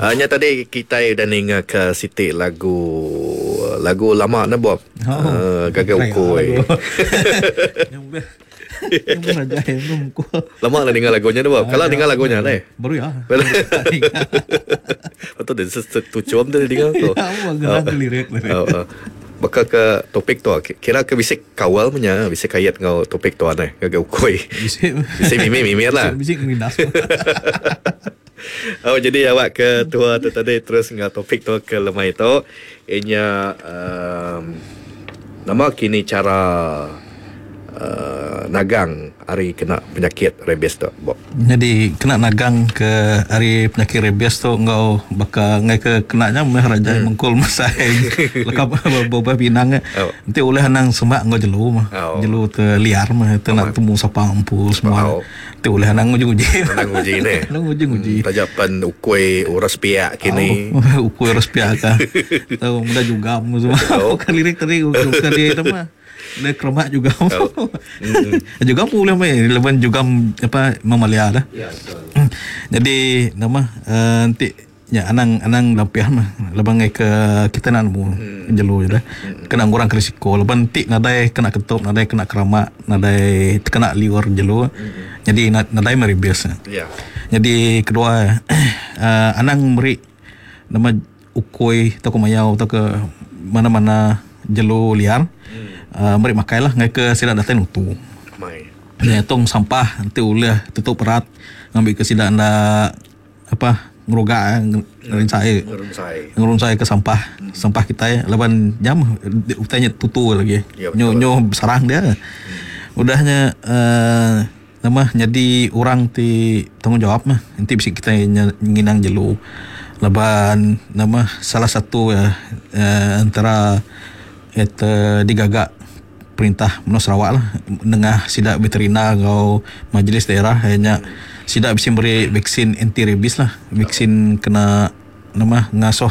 Uh, nya tadi kitai udah ninga ke siti lagu lagu lama ne Bob. Oh. Uh, gaga ukui. Lama lah ninga lagu nya ne Bob. Kala ninga lagu nya deh. Baru ya. Betul deh tuchum tu dinga tu. Ya, lirik. Oh, oh. Baka ke topik tu kira ke bisi kawal menya bisi kait enggau topik tu aneh ngagai ukui. Bisi. Bisi mimit mimit lah. Bisi ngindas. Oh jadi awak ke tua tu tadi terus enggau topik tu ke lemai tu inya um, nama kini cara uh, nagang ari kena penyakit rabies tu Bob. Nyadi kena nagang ke ari penyakit rabies tu enggau baka enggai ke kena nya meh raja hmm. mengkul mesai leka bebuah pinang oh. Enti ulih anang semak enggau jelu mah. Oh. Jelu te liar mah te nak temu sapa empu semua. Oh. Enti ulih anang nguji-nguji. Anang nguji ne. Anang nguji-nguji. Hmm, taja pen ukui uras piak kini. Oh, ukui uras piak ka. Tau muda jugam semua. Oh. Bukan lirik tadi bukan dia nama. Dia keremak juga. Oh. Mm. Jugam pun boleh main. Laban jugam apa mamalia dah. Ya, betul. Jadi nama uh, nanti ya anang anang lampiah mah laban ngai ke kita nak nemu hmm. jelu je dah. Hmm. Kena ngurang ke risiko laban nanti nadai kena ketup, nadai kena keramak, nadai kena liur jelu. Hmm. Jadi nadai meri bias. Ya. Jadi kedua uh, anang meri nama ukui atau ke mayau atau ke mana-mana jelu liar hmm. uh, meri makai lah ngai ke sida datai nutu. Mai. Ya, tong sampah nanti ulih tutup erat ngambil ke sida anda apa ngeruga ngerinsai Ngerunsai. ngerunsai ke sampah sampah kita laban jam utainya tutu lagi Ya, nyo betul. nyo sarang dia udahnya uh, nama jadi orang ti tanggungjawab mah nanti bisa kita nginang jelu laban nama salah satu uh, uh, antara eta digagak perintah Menua Sarawak lah nengah sida veterina enggau majlis daerah nya sida bisi meri vaksin anti rabies lah vaksin kena nama ngasuh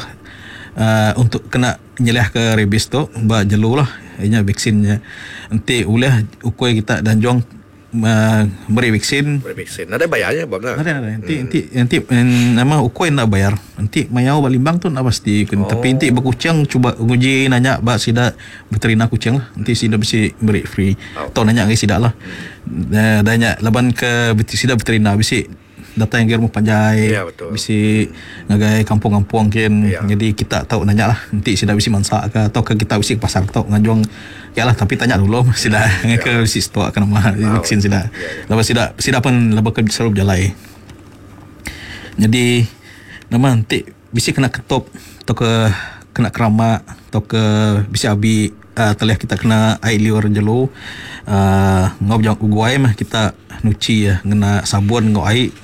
uh, untuk kena nyeliah ke rabies tu ba jelu lah nya vaksinnya enti ulih ukui kita danjong uh, meri vaksin Beri vaksin. Nadai bayarnya Bob nah. ada ada nanti nanti nanti nama ukui nak bayar. Nanti mayau ba limbang tu nak pasti. Oh. Tapi nanti berkucing cuba nguji nanya ba sida veterina kucing lah. Nanti sida mesti beri free. Oh. Tau nanya ngai sida lah. Hmm. Dah nya laban ke sida veterina bisi datang ke rumah panjai. Ya, betul. Bisi ngagai kampung-kampung kin. Ya. Jadi kita tahu nanya lah. Nanti sida bisi mansak ke atau ke kita bisi ke pasar tau ngajung ya lah tapi tanya dulu sida ya. ke bisi stok ke nama vaksin sida. Ya, ya. Lepas sida sida pun lepas ke selalu berjalai. Jadi nama nanti bisi kena ketup atau ke kena keramak atau ke bisi abi uh, telih kita kena air liur jelu uh, ngau jang guai mah kita nuci ya ngena sabun ngau air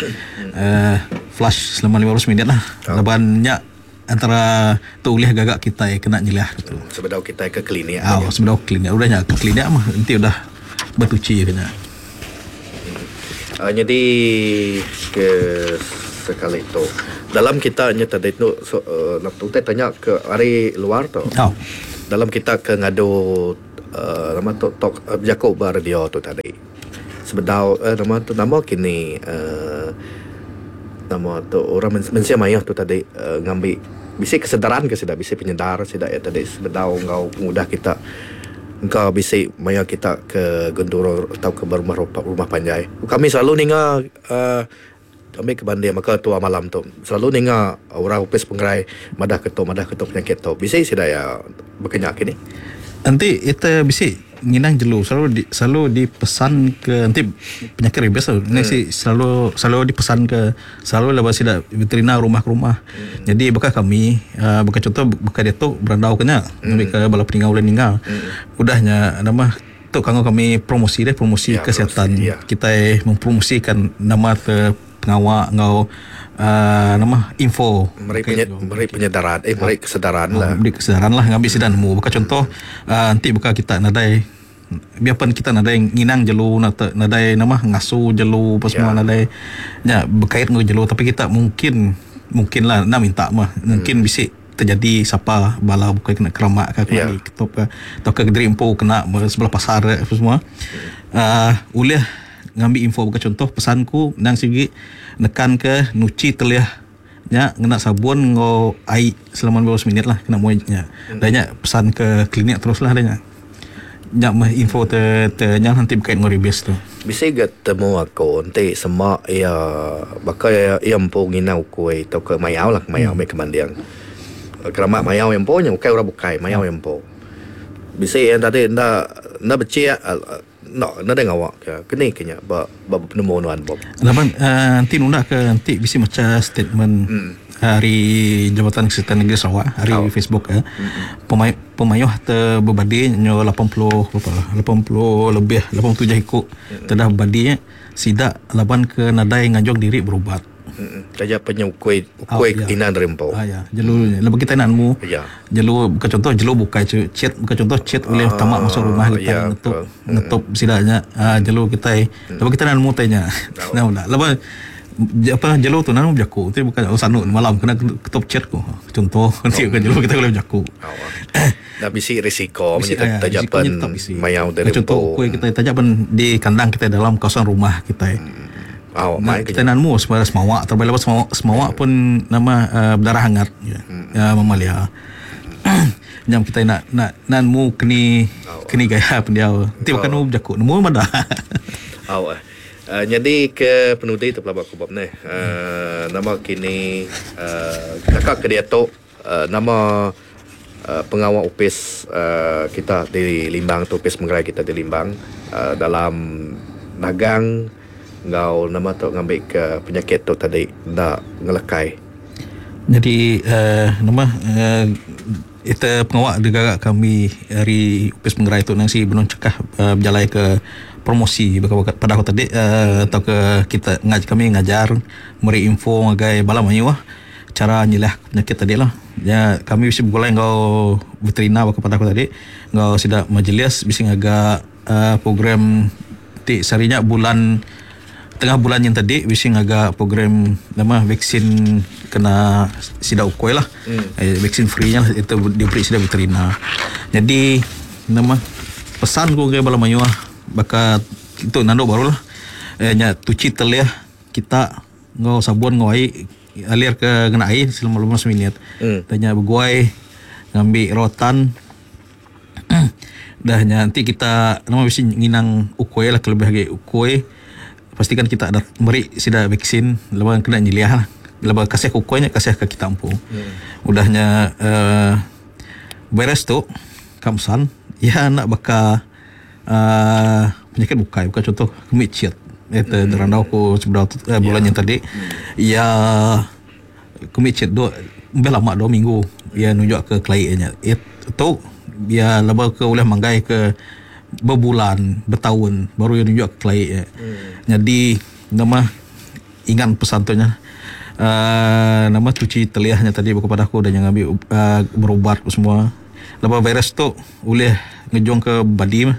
uh, flush selama 15 minit lah. Oh. Laban nya antara tu ulih gagak kita ya, kena nyeliah gitu. Sebedau kita ke klinik. Ah, sebelum klinik udah nya ke klinik mah nanti udah bertuci kena. Uh, jadi ke sekali tu dalam kita nya tadi tu so, uh, nak tu tanya ke hari luar tu. Oh. Dalam kita ke ngadu uh, nama tu talk uh, berjaku ba radio tu tadi. Sebedau uh, nama tu nama kini uh, nama tu orang mensia mayuh tu tadi uh, ngambil bisi kesedaran ke sida bisi penyedar sida ya tadi sebedau enggau pengudah kita engkau bisi maya kita ke genduro atau ke rumah rumah panjai. Kami selalu ninga uh, kami ke banding maka tua malam tu selalu ninga orang upis pengerai madah ketu madah ketu penyakit tu bisi sida ya berkenyak kini. Nanti kita bisi nginang jelu selalu di, selalu dipesan ke nanti penyakit rabies tu. Ni si selalu selalu dipesan ke selalu lepas sida veterina rumah ke rumah. Hmm. Jadi bekal kami uh, bekal contoh bekal dia tu berandau kena hmm. ke bala peninggal ulih ninggal. Hmm. Udahnya nama tu kanggo kami promosi deh promosi Ya, kesihatan. promosi, ya. Kita mempromosikan nama te pengawak ngau uh, nama info Meri, penye, meri penyedaran eh meri kesedaran lah. Beri kesedaran lah ngambil sidan nemu. Bukan contoh uh, nanti bukan kita nadai biarpun kita nadai nginang jelu nadai nama ngasu jelu apa semua Ya. nadai nya berkait dengan jelu tapi kita mungkin mungkin lah nak minta mah mungkin bisi terjadi siapa bala bukan kena keramak ke kena Ya. diketup ke atau ke diri empu kena sebelah pasar apa semua uh, ulih ngambil info bukan contoh pesanku nang sigi nekan ke nuci telih Nya ngena sabun enggau ai selama 15 minit lah kena muai nya. Dah nya pesan ke klinik terus lah dah nya. Nya meh info te te nya enti bekait enggau rabies tu. Bisi ga temu aku enti sema iya baka iya iya empu nginang ukui tauka mayau lah mayau meh ke manding. Keramat mayau iya empu nya ukai orang bukai mayau iya empu. Bisi iya tadi enda enda bechik enda enda deh ngawa ke keni ke nya ba ba penemu nuan Bob. Laban uhh enti nunda ke enti bisi macha statement ari Jabatan Kesihatan Negeri Sarawak ari Facebook eh pemai Pemayuh te bebadi nyu 80 berapa 80 lebih 87 iku te dah bebadi nya sida laban ke nadai ngajung diri berubat. Taja pen nya ukui ukui inang diri empu. Ah ya jelu nya laban kitai enda nemu jelu bukan contoh jelu bukai chit bukan contoh chit ulih tama masuk rumah kitai ngetup ngetup sida nya aaa jelu kitai laban kitai enda nemu utai nya. Laban Apa jelu tu nang bejaku ti bukan oh sanu malam kena ketup chat ku contoh enti bukan jelu kita boleh bejaku. Dah bisi risiko bisi, ya, taja pen mayau dari contoh ukui kita taja pen di kandang kita dalam kawasan rumah kita. Oh, nah, kita nemu sebenarnya semawa terlebih lepas semawa, semawa pun nama uh, berdarah hangat ya, ya mamalia. Nyam kita nak nak nak nemu keni keni gaya pendiau. Nanti bukan nemu bejaku nemu madah. Oh. Nyadi ke penudi tu pelaba ku bab neh nama kini naka ke diatu nama pengawa opis kita di Limbang tu opis pengerai kita di Limbang dalam nagang enggau nama tu ngambi ke penyakit tu tadi enda ngelekai. Nyadi nama ita pengawa digaga kami ari opis pengerai tu nang si benung chekah bejalai ke promosi baka padah ku tadi tauka kita kami ngajar meri info ngagai bala mayuh chara nyeliah penyakit tadi lah. Nya kami bisi begulai enggau veterinar baka padah ku tadi enggau sida majlis bisi ngaga program ti sehari nya bulan tengah bulan nyin tadi bisi ngaga program nama vaksin kena sida ukoi lah hmm. vaksin free nya lah itu diberi sida veterina. Jadi nama pesan ku ngagai bala mayuh baka tu nandu baru lah eh, nya tuchi telih kita enggau sabun enggau ai alir ke ngena ai selama 15 minit. Hmm. Nya beguai ngambi rotan Dah nya enti kita nama bisi nginang ukui lah kelebih agi ukui pastikan kita dah meri sida vaksin laban kena nyeliah lah. Laban kasih ke ukui nya kasih ke kita empu. Udah nya uhh virus tu kamsan iya enda baka uhh penyakit bukai baka contoh kemi chit ita randau ku sebedau tu bulan nyin tadi iya Kemi chat tu lebih lama dua minggu iya nunjuk ke kelai nya. Tu iya lebuh ke ulih manggai ke bebulan betaun baru iya nunjuk ke kelai nya. Nyadi nama ingat pesan tu nya uhh nama cuci telih nya tadi baka padah aku udah nya ngambi uhh berubat semua. Lebuh virus tu ulih ngejung ke badi meh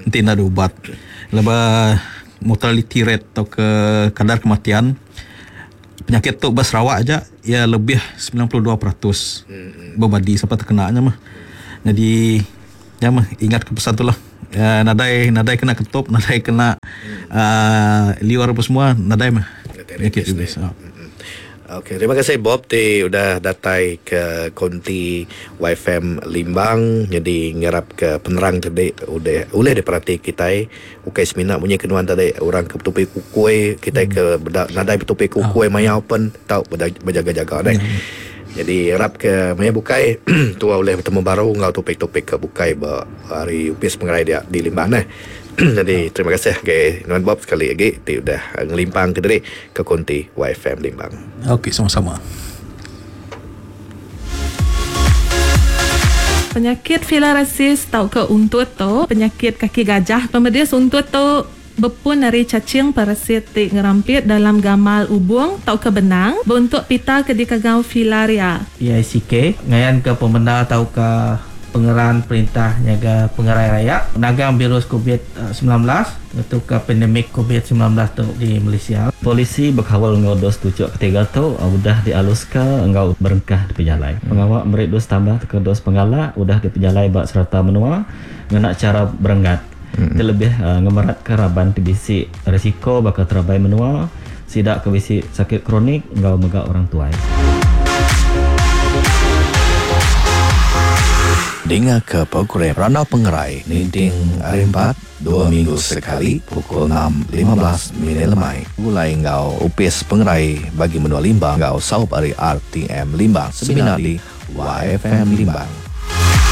enti enda diubat. Lebuh mortality rate tauka kadar kematian. Penyakit tu ba Sarawak aja iya lebih 92% bebadi sapa tekena nya mah. Nyadi nya mah ingat ke pesan tu lah. Uhh nadai nadai kena ketup nadai kena uhh liur apa semua nadai mah penyakit rabies. Okey terima kasih Bob ti udah datai ke konti YFM Limbang nyadi ngarap ke penerang tadi udah ulih diperati kitai. Ukai semina munyi ke nuan tadi orang ke betupi kukui kitai ke beda nadai betupi kukui mayau pen tau bejaga-jaga deh. Jadi arap ke maya bukai tua ulih betemu baru enggau topik-topik ke bukai ba hari opis pengerai dia di Limbang neh. Jadi terima kasih ngagai nuan Bob sekali agi ti udah ngelimpang ke diri ke konti YFM Limbang. Okey sama-sama. Penyakit filariasis tauka untut tu penyakit kaki gajah. Pemedis untut tu bepun ari cacing parasit ti ngerampit dalam gamal ubung tauka benang beuntuk pita ke dikagau filaria. PICK, ngayanka pemendar tauka pengeran perintah nyaga pengerai rayat nagang virus covid 19. Ngetuka pandemik covid 19 tu di Malaysia. Polisi bekaul enggau dos tuchuk ketiga tu udah dialuska enggau berengkah dipejalai. Pengawa meri dos tambah tauka dos penggalak udah dipejalai ba serata menua ngena chara berenggat ti lebih ngemeratka raban ti bisi risiko baka terabai menua. sida ke bisi sakit kronik enggau mega orang tuai. Dinga ke program Randau Pengerai ninting Hari Empat, dua minggu sekali pukul 6:15 minit lemai begulai enggau Opis Pengerai Bagi Menua Limbang enggau saup ari RTM Limbang semina di YFM Limbang.